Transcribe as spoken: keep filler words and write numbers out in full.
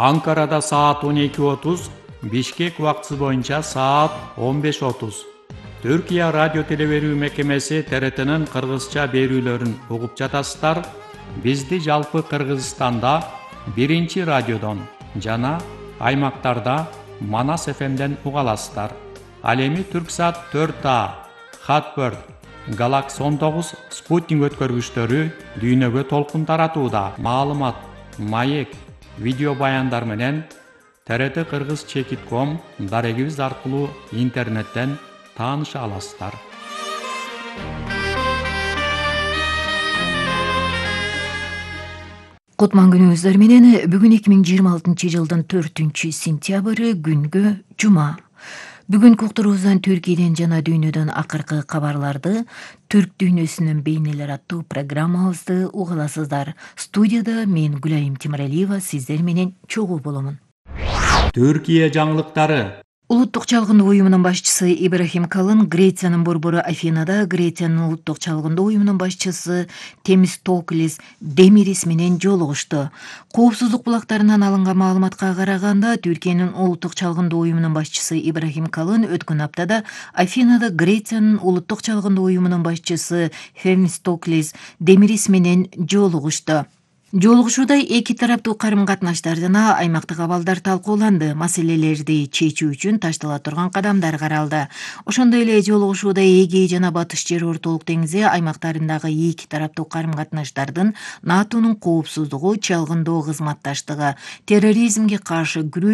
Анкарада саат он эки отуз, Бишкек убактысы боюнча саат он беш отуз. Түркия радио телеберүү мекемеси Т Р Т'нин кыргызча берүүлөрүн угуп жатасыздар. Бизди жалпы Кыргызстанда биринчи радиодон жана аймактарда Манас Ф M'ден уга аласыздар. Ал эми Түрксат төрт А, Хатберд, Галакс он тогуз спутник өткөргүчтөрү дүйнөгө толкун таратууда. Маалымат, маек, видео баяндар менен Т Р Т Кыргыз чекит ком дарегибиз аркылуу интернеттен тааныша аласыздар. Кутман күнүңүздөр менен. Бүгүн эки миң жыйырма алтынчы жылдын төртүнчү сентябры күнгө жума. Бүгүнкү уктуруубуздан Түркияден жана дүйнөдөн акыркы кабарларды, Түрк дүйнөсүнүн бейнелери аттуу программабызды уга аласыздар. Студияда мен Гүлайым Темиралиева сиздер менен чогуу боломун. Түркия жаңылыктары. Улуттук чалгындоо уюмунун башчысы Ибрахим Калын Грециянын борбору Афинада Грециянын улуттук чалгындоо уюмунун башчысы Темистоклис Демирис менен жолугушту. Коопсуздук булактарынан алынган маалыматка караганда, Түркиянын улуттук чалгындоо уюмунун башчысы Ибрахим Калын өткөн аптада Афинада Грециянын улуттук чалгындоо уюмунун башчысы Темистоклис Демирис менен жолугушту. Жолугушууда эки тараптуу карым-катнаштар жана аймактык абалдар талкууланды. Маселелерди чечүү үчүн таштала турган кадамдар каралды. Ошондой эле жолугушууда Эгей жана Батыш жер ортолук деңизи аймактарындагы эки тараптуу карым-катнаштардын, НАТОнун коопсуздугу, чалгындоо кызматташтыгы, терроризмге каршы күрөш